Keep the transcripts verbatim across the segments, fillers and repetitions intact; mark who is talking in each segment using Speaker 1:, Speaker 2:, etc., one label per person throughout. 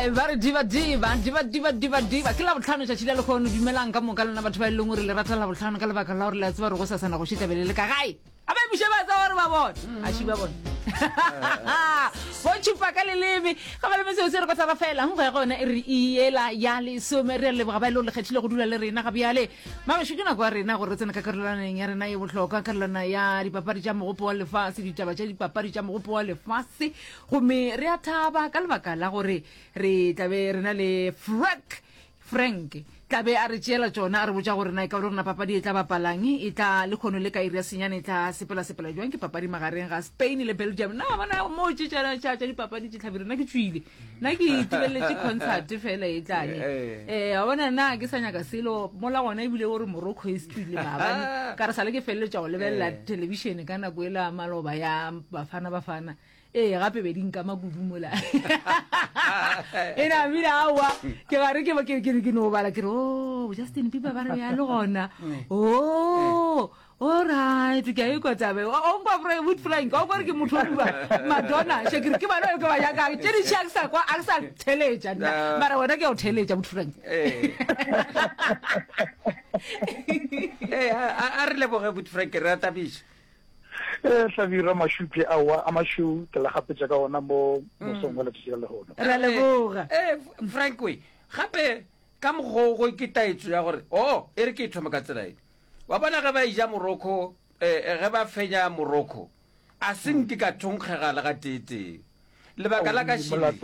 Speaker 1: Eh, ba re diva diva diva diva diva diva ke labotlhano tšatši la lekgono. Dumelang ka moka lena batho ba e leng gore le rata Labotlhano ka lebaka la gore le a tseba gore go sasana go šetla bele le ka gae. A ba emiše ba tseba gore ba bone a ši ba bone bo tšhupa ka leleme ga ba leme seo se re kotara fela go ya gona e re iela ya lesome. Re a leboga ba e le gore le kgethile go dula le rena. Ga bjale mabašo ke nako ya rena gore re tsene ka karolwaneng ya rena ye bohlokwa, karolwana ya dipapadi tša mogopo wa lefase, ditaba tša dipapadi tša mogopo wa lefase. Gomme re a thaba ka lebaka la gore re tlabe re na le Frank. Frank tlabe a re tšeela tšona, a re botša gore na e ka ba le rona papadi e tla bapalang e tla le kgono le ka iri ya senyane e tla sepela-sepela jwang, ke papadi magareng ga Spain le Belgium. Na bona mo tše tša tša tša dipapadi tše tlhabile, nna ke tswile, nna ke itebeletse concert fela e tlane. um wa bona nna ke sa nyaka selo mola gona, ebile gore Morocco e setile maabane ka re sale ke feleletša go lebelela television ka nako e la maloba ya Bafana Bafana. Ee, gape be di nkama kudu mola e namile. Aowa, ke gare ke ke ke ke no bala ke re o Justin Bieber ba re ya le gona. O alright, ke a ikwa tabe o nkwa Wood Frank o kore ke motho o bua Madonna Shakira ke bana ke ba nyakang tše dintši. A ke sa kwa, a ke sa theletša nna, mara wena ke ya go theletša, Wood Frank.
Speaker 2: Ee, a re leboge Wood Frank, re a tabiša.
Speaker 3: Ee, Hlabirwa, mašupje aowa a mašweu ke la gapetša ka ona mo mosong wa letšatši la lehono.
Speaker 1: Re a leboga.
Speaker 2: Ee, Frank we gape ka mokgwa ke taetso ya gore o e re ke e thome ka tsela e wa bona ge ba ija Morocco, um ge ba fenya Morocco, a se nke ka thonkgega le ga teetee. Lebaka la ka šile,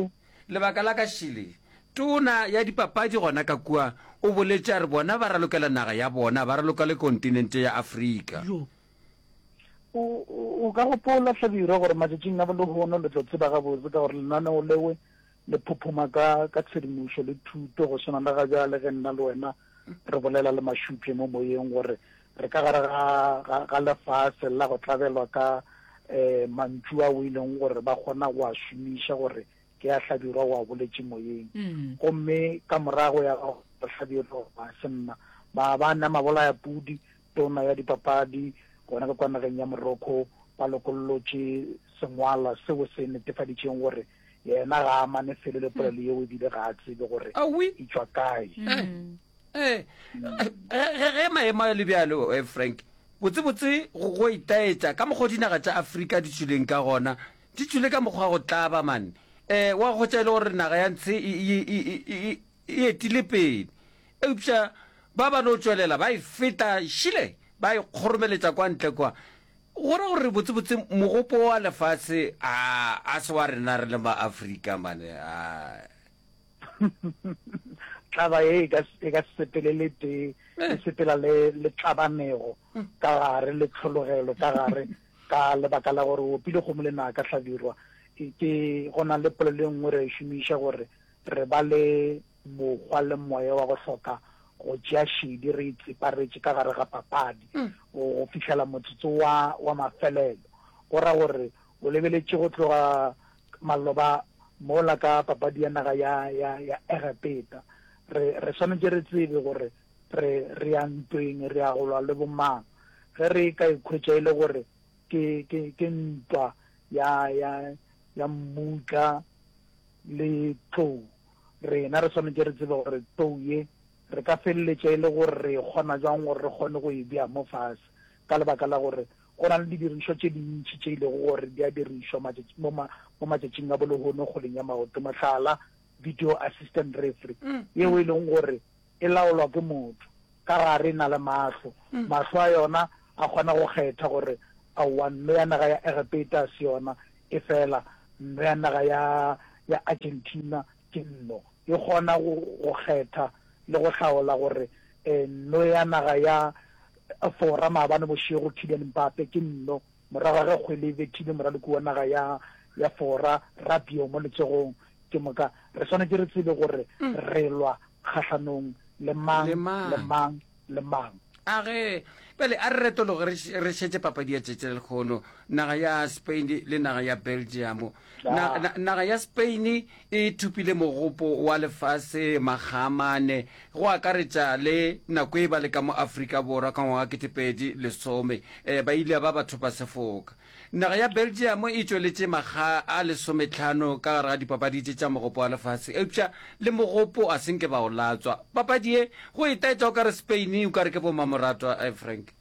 Speaker 2: lebaka la ka šile, tona ya dipapadi gona ka kua o boletše a re bona ba ralokela naga ya bona, ba raloka le kontinente ya Afrika.
Speaker 3: O, o ka gopola, Hlabirwa, gore matšatšing a bolehono le tlo tseba gabotse ka gore lenaneo lewe le phophoma ka, ka tshedimošo le thuto, go swana le ga bjale ge nna le wena re bolela le mašupje mo moyeng gore re ka gare ga, ga, ga lefase la go tlabelwa ka um mantšu ao e leng gore ba kgona go a šomiša gore ke a Hlabirwa o a boletše moyeng. Gomme ka morago ya go Hlabirwa ga se nna maabane a mabolaya pudi, tona ya dipapadi gona ka kwa nageng ya Morocco ba lokollotše sengwalwa seo se netefaditšeng gore yena ga a amane felo le polelo yeo ebile ga a tsebe gore e tšwa kae.
Speaker 2: Ee, ge maemo a le bjalo, eh, Frank, botsebotse go go itaetša ka mokgwa dinaga tša Afrika di tšwileng ka gona, di tšwile ka mokgwa wa go tlaba mane. Um wa hwetša e le gore naga ya ntshe e, e, e, e, e etile pele, eupša ba ba no tšwelela ba e feta šile, ba e kgoromeletša kwa ntle kwa. Go ra gore botsebotse mogopo wa lefase a a se wa rena re le ma-Afrika mane. A
Speaker 3: tlaba ye e ka e ka se sepele le tee, e sepela le le tlabanego ka gare le tlhologelo ka gare, ka lebaka la gore o opile kgomo le naka. Hlabirwa, ke go na le polelo e nngwe re e šomiša gore re ba le mokgwa le moya wa go hloka go tšea šedi, re itseparetše ka gare ga papadi go fihlela motsotso wa wa mafelelo. Go ra gore o lebeletše go tloga maloba mola ka papadi ya naga ya ya ya Egepeta, re re swanetše re tsebe gore re re ya ntweng, re ya go lwa le bomang. Ge re ka ikhwetša e le gore ke ke ke ntwa ya ya ya mmutla le tlou, rena re swanetše re tsebe gore tlou ye re ka feleletša e le gore re e kgona jwang gore re kgone go e bea mo fase, ka lebaka la gore go na le didirišwa tše dintši tše e lego gore di a dirišwa matšatši mo ma mo matšatšing a bolehono kgweleng ya maoto, mohlala video assistant referee yeo e leng gore e laolwa ke motho ka gare, e na le mahlo, mahlo a yona a kgona go kgetha gore aowa nno ya naga ya Egepeta a se yona, e fela nno ya naga ya ya Argentina ke nno, e kgona go go kgetha le go hlaola gore nno ya naga ya Fora maabane bošego Kylian Mbappe ke nno, morago ga ge kgwele e bethile moraloki wa naga ya ya Fora Rabiot mo letsogong. Ke moka re swanetše re tsebe gore re lwa kgahlanong le mang
Speaker 2: Le mang.
Speaker 3: le mang le mang.
Speaker 2: A ge bjale a re retologe re š- re šetše papadi ya tšetše lekgono, naga ya Spain le naga ya Belgium. Na,
Speaker 3: Ja.
Speaker 2: na, naga ya Spain e thopile mogopo wa lefase magamane, go akaretša le nako e ba le ka mo Afrika Borwa ka ngwaga ketepedi lesome, eh, ba ile ba ba thopa sefoka. Naga ya Belgium e tšweletše makga a lesometlhano ka gare ga dipapadi tše tša Mogopo wa Lefase, eupša le mogopo a se nke ba o latswa. Papadi ye go e taetša o ka re Spain o ka re ke bommamoratwa, eh, Frank.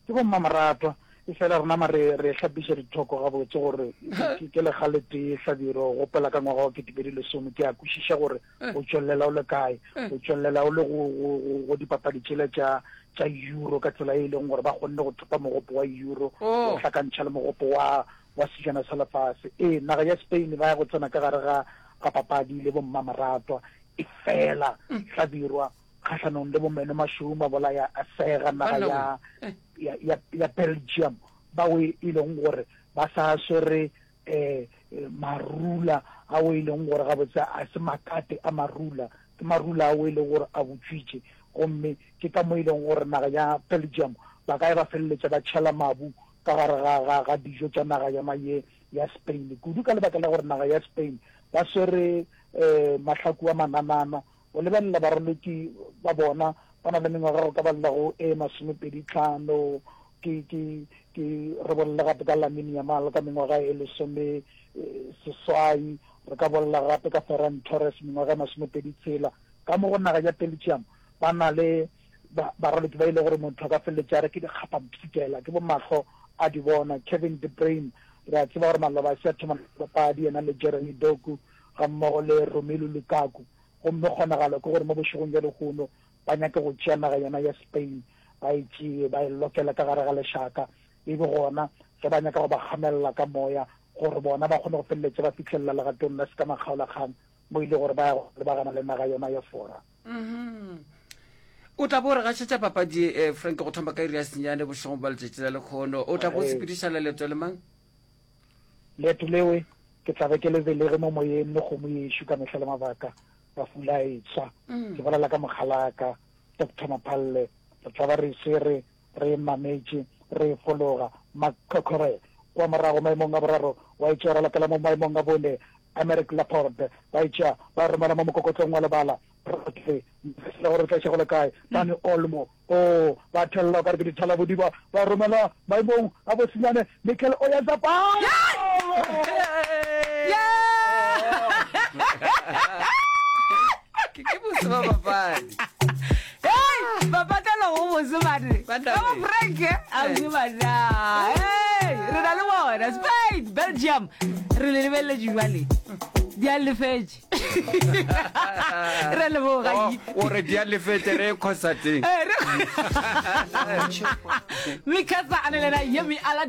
Speaker 3: Ke bommamoratwa, efela rena ma re, re hlapiša dithoko gabotse gore ke, ke lekga le tee Hlabirwa, o gopola ka ngwaga wa ketepedi lesome, ke a kwešiša gore o tšwelela o le kae, o tšwelela o le go, go, go, go dipapadi tšela tša, tša Euro ka tsela e leng gore ba kgonne go thopa mogopo wa Euro o hlakantšha le mogopo wa wa sejana sa lefase. Ee, naga ya Spain ba ya go tsena ka gare ga ga papadi le bommamoratwa, efela Hlabirwa kgahlanong le bomeno mašweu mabolaya a sega naga ya ya ya ya Belgium bao e leng gore ba sa swere um marula ao e leng gore gabotse a se makate a marula, ke marula ao e leng gore a butšwitše. Gomme ke ka mo e leng gore naga ya Belgium ba ka ya ba feleletša ba tšhela mabu ka gare ga, ga, ga dijo tša naga yona ye ya Spain, kudu ka lebaka la gore naga ya Spain ba swere um mahlaku a mananana. O lebelela baraloki ba bona, ba na le mengwaga go ka balela go e masomepedi tlhano, ke, ke, ke re bolele gape ka Lamine Yamal ka mengwaga e lesome seswai, re ka bolela gape ka Ferran Torres mengwaga e masomepedi tshela. Ka mo go naga ya Belgium ba na le ba, baraloki ba e le gore motho a ka feleletša a re ke dikgapampshikela, ke bo mahlo a di bona. Kevin De Bruyne, re a tseba gore maloba a se a thoma papadi, yena le Jeremy Doku gammogo le Romelu Lukaku. Gomme kgonagalo ke gore mo bošegong bja lehono ba nyake go tšea naga yona ya Spain, ba e tšee, ba e lokele ka gare ga lešaka, e be gona ge ba nyaka go ba kgamelela ka moya gore bona ba kgone go feleletša ba fihlelela legatong la sekamakgaolakgang mo e le gore ba ya go lebagana le naga yona ya Fora.
Speaker 2: O tla bo o re gašetša papadi ye, Frank, go thoma ka iri ya senyane bošegong bja letšatši la lekhono. O tla bo o sepedišana leeto le mang?
Speaker 3: Leeto lewe ke tla be ke le belege mo moyeng le kgomo yešo ka mehla le mabaka, mafula a etswa. Ke bolela ka mokgalaka, Doctor Maphalle. Re tla ba re e swere, re e mametše, re e fologa. Makhokhore kwa morago maemong a boraro, wa e tšea ra latela mo maemong a bone, Aymeric Laporte. Ba e tšea ba e romela mo mokokotlong wa lebala. Rodri, le gore re tla iša go le kae. Dani Olmo, oo, ba thella o ka re ke dithalabodiba, ba romela maemong a bosenyane Mikel Oyarzabal!
Speaker 2: Ke ke bose ba papadi.
Speaker 1: Hey, bapatelo go bose bane.
Speaker 2: Ba
Speaker 1: Ka bo Frank, eh, a bose bana. Hey, re na le bona Spain, Belgium. Re le lebelletše jwale. Di a lefetše. Re leboga.
Speaker 2: O o re di a lefetše re ye concert-eng.
Speaker 1: Eh, re Mikasa a ne lena Yemi Alade.